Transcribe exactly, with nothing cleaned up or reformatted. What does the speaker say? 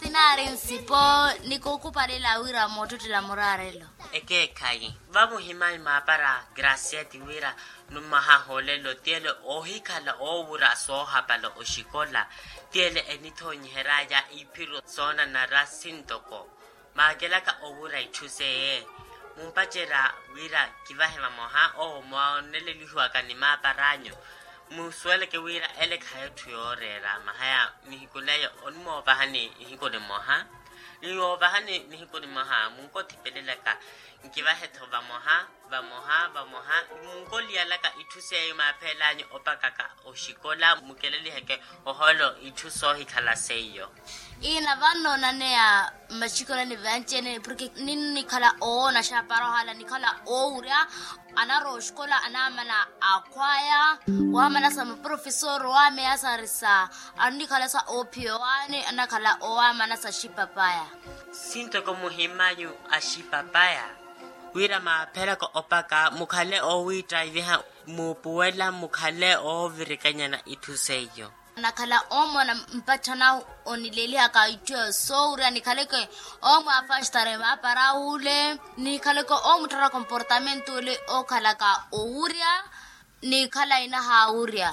Tinaari nsipo, nikukupalela wira moottottela muraarelo. Ekeekhayi vamuhimanyu maapara gracieti wira nummahaha olelo tiyele oohikhala oowura soohapala oxikola. Tiyele enithoonyiheryaya iphiro soonanara sintoko maakelaka owura itthu seye. Mumpacerya wira kivahe vamoha owo mwaonelelihiwaka ni maapar'anyu. Musuweleke wira ele khayi etthu yooreera mahaya nihiku neyo onimoovahani nihiku nimoha. Ni woovahani nihiku nimoha munkothipelelaka nkivahe-tho vamoha vamoha vamoha. Munkoliyalaka itthu seiyo maapheel'anyu opakaka oxikola mukeleliheke ohoolo itthu soohikhala seiyo. Ina vano naneya mmaxikolani vanci-ene porke ninnikhala owoona xaapara ohala nikhala oowurya. Anarowa oxikola anaamana akhwaya waamana sa maprofesor waameyasarisa annikhala sa oophiya owaani anakhala owaamana sa axipapaya. Sintoko muhimanyu axipapaya wira maapheraka opaka mukhale oowiittayiviha muupuwela mukhale oovirikanyana itthu seiyo. Nakhala oomona mpatthana onilelihaka itthu eyo soowurya nikhaleke oomwaafastare maapara wule nikhaleke oomutthara komportamento ole ookhalaka owurya nikhala inahaawurya.